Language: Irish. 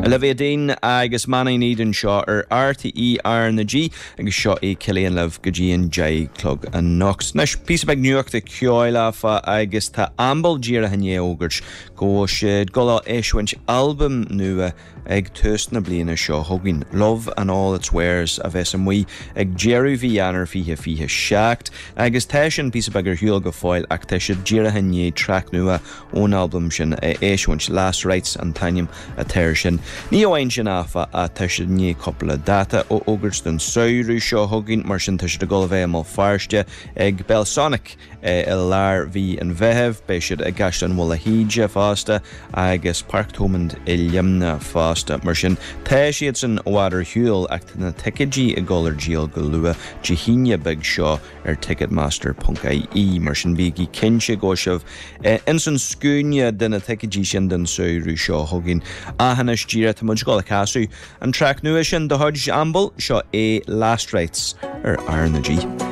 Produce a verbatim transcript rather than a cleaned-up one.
Olivia Dean agus Man I Need anseo ar RTÉ R na G agus seo é Cillian libh go dtí an deich a chlog anocht. Anois píosa beag nuachta ceoil áfach agus tá Amble díreach i ndiaidh fhógairt go bhfuil siad ag dul a eisiúint albam nua ag tús na bliana seo chugainn. Love and All Its Wares a bheas amuigh ag deireadh mhí Eanáir fiche fiche seacht agus tá sin píosa beag ar shiúl go fóill ach tá siad díreach i ndiaidh traic nua ón albam sin a eisiúint Last Rites an t-ainm atá air sin. Ní amháin sin áfach tá siad i ndiaidh cúpla dáta a fhógairt don samhradh seo chugainn mar sin tá siad ag dul a bheith i mBéal Feirste ag Belsonic i lár mhí an Mheithimh, beidh siad i gCaisleán Bhaile Híde fosta agus Páirc Thomond i Luimneach fosta. Mar sin tá siad san i bhfad ar shiúl ach tá na ticéidí ag dul ar díol go luath Dé hAoine beag seo ar ticketmaster.ie mar sin bígí cinnte go sibh ins an scuaine de na ticéidí sin den samhradh seo chugainn. Anois díreach tá muid ag dul a chasadh an traic nua sin de chuid Amble seo é Last Rites ar R na G.